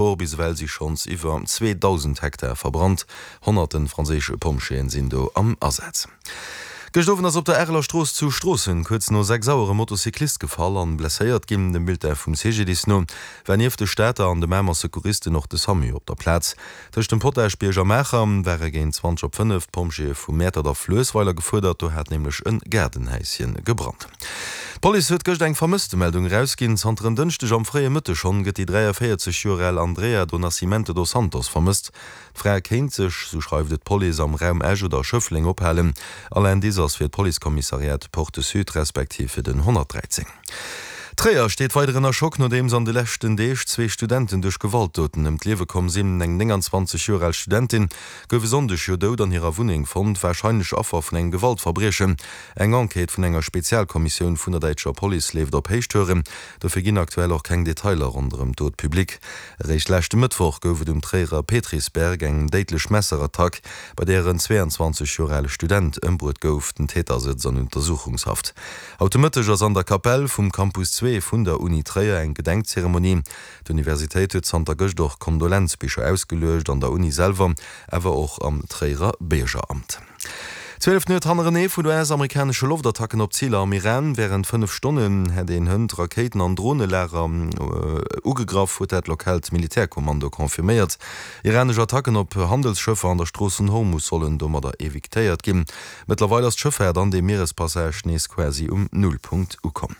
Or, bis ewell si schonns iwwer 2.000 Hektar verbrannt. Honnerte franséische Pompjeeën sinn do am Asaz. Gëscht Owend ass op der Areler Strooss zu Stroossen kuerz no 6 Auer e Motocyclist gefall an blesséiert ginn. Dem Bulletin vum CGDIS no war nieft de Stater an de Mamer Secouristen och de Samu op der Plaz. Tëscht dem Potaschbierg a Maacher ware géint 20 op 5 d'Pompjeeë vu Mäertert a Fluessweiler gefuerdert. Do hat nämlech e Gaardenhäischen gebrannt. D'Police huet gëscht eng Vermësstemeldung erausginn. Zanter en Dënschdeg am fréie Mëtteg schonn gëtt déi 43 Joer al Andrea do Nascimento dos Santos vermësst. D'Fra kéint sech, sou schreift et d'Police, am Raum Esch oder Schëffleng ophalen. All Indice ass fir d'Policekommissariat Porte Sud respektiv fir den 113. Tréier steet weider ënner Schock, nodeems an de leschten Deeg zwee Studenten duerch Gewaltdoten ëm d'Liewe komm sinn. Eng 29 Joer al Studentin gouf e Sonndeg jo dout an hirer Wunneng fonnt, warscheinlech Affer vun engem Gewaltverbriechen. Eng Enquête vun enger Spezialkommissioun vun der däitscher Police leeft op Héichtouren. Dofir ginn aktuell och keng Detailer ronderëm d'Dot public. Eréischt leschte Mëttwoch gouf et um Tréierer Petrisberg eng déidlech Messerattack, bei där en 22 Joer ale Student ëmbruet gouf. Den Täter sëtzt an Untersuchungshaft. Haut de Mëtteg ass an der Kapell vum Campus 2 vun der Uni Tréier eng Gedenkzeremonie. D'Universitéit huet zanter gëscht och Kondolenzbicher ausgeluecht, an der Uni selwer, awer och am Tréierer Biergeramt. 12 Nuet hannerenee vun US-amerikanesche Loftattacken op Ziler am Iran. Wärend 5 Stonnen hätt een Hënt Rakéiten an Dronelager ugegraff, huet dat lokaalt Militärkommando confirméiert. Iranesch Attacken op Handelsschëffer an der Strooss vun Hormus sollen domadder evitéiert ginn. Mëttlerweil ass d'Schëffaart an deem Mierespassage nees quasi um Nullpunkt ukomm.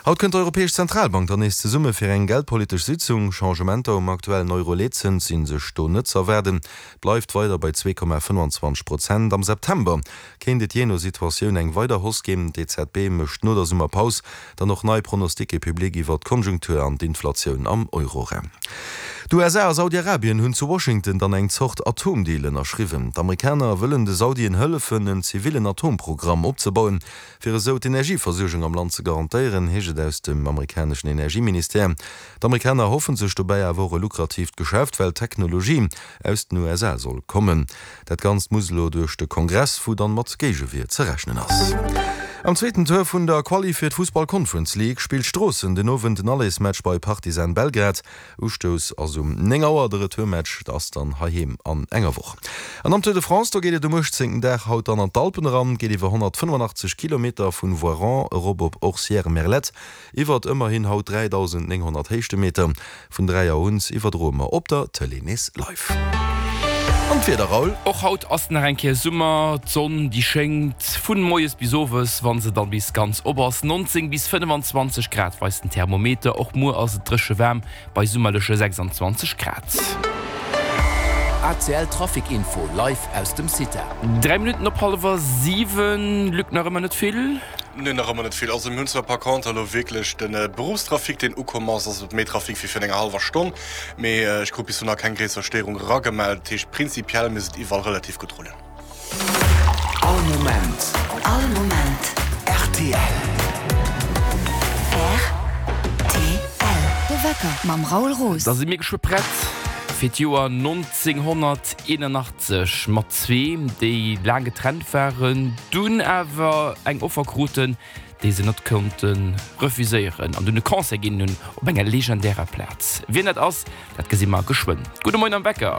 Haut kënnt d'Europäesch Zentralbank dann nees zesumme fir eng geldpolitesch Sitzung. Changementer um aktuellen Euro-Leetzëns si sech do net z'erwaarden. Bleift weider bei 2,25 Prozent. Am September kéint et jee no Situatioun eng weider Hausse ginn. D'EZB mécht no der Summerpaus dann och nei Pronosticke public iwwer d'Konjunktur an d'Inflatioun am Euroraum. D'USA a Saudi-Arabien hunn zu Washington dann eng Zort Atomdeal ënnerschriwwen. D'Amerikaner wëllen de Saudien hëllefen, en zivillen Atomprogramm opzebauen, fir esou d'Energieversuergung am Land ze garantéieren, heescht et aus dem amerikaneschen Energieministère. D'Amerikaner erhoffen sech dobäi awer och e lukratiivt Geschäft, well d'Technologie aus den USA soll kommen. Dat Ganzt muss elo duerch de Kongress, wou dann mat Géigewier ze rechnen ass. Am zweeten Tour vun der Quali fir d'Fussball Conference League spillt Stroossen den Owend den Allersmatch bei Partizan Belgrad. Ustouss ass um 9 Auer, de Retourmatch ass dann heiheem an enger Woch. An am Tour de France, do geet et um 18. Dag haut dann an d'Alpen eran, geet iwwer 185 Kilometer vun Voiron erop op Orcières-Merlette. Iwwert ëmmerhin haut 3.900 Héichtemeter. Vun 3 Auer un iwwerdroe mer op der Tëlee nees live. An d'Wieder, Raoul? Och haut ass nach eng Kéier Summer, d'Sonn déi schéngt vun moies bis owes, wann se dann bis ganz op ass. 19 bis 25 Grad weist den Thermometer. Och muer ass et dréche waarm bei summerleche 26 Grad. ACL Trafic Info live aus dem CITA. 3 Minutten op hallwer 7, Luc, nach ëmmer net vill. Nee, nach ëmmer net vill. Also mir hunn zwar par contre elo wierklech de Beruffstrafic, deen ukomm ass. Also méi Trafic wéi virun enger hallwer Stonn. Mee ech krut bis elo nach keng gréisser Stéierung eragemellt. Dat heescht, prinzipiell misst et iwwerall relativ gutt rullen. All Moment. All Moment. Rtl. Rtl. De Wecker mam Raoul Roos. Da si mir geschwë prett fir d'Joer 1981. Sech mat zwee, déi laang getrennt waren, dunn awer eng Offer kruten, déi se net konnte refuséieren an dunn e Concert ginn hunn op enger legendärer Plaz. Wien dat ass, dat gesi mer geschwënn. Gudde Moien am Wecker.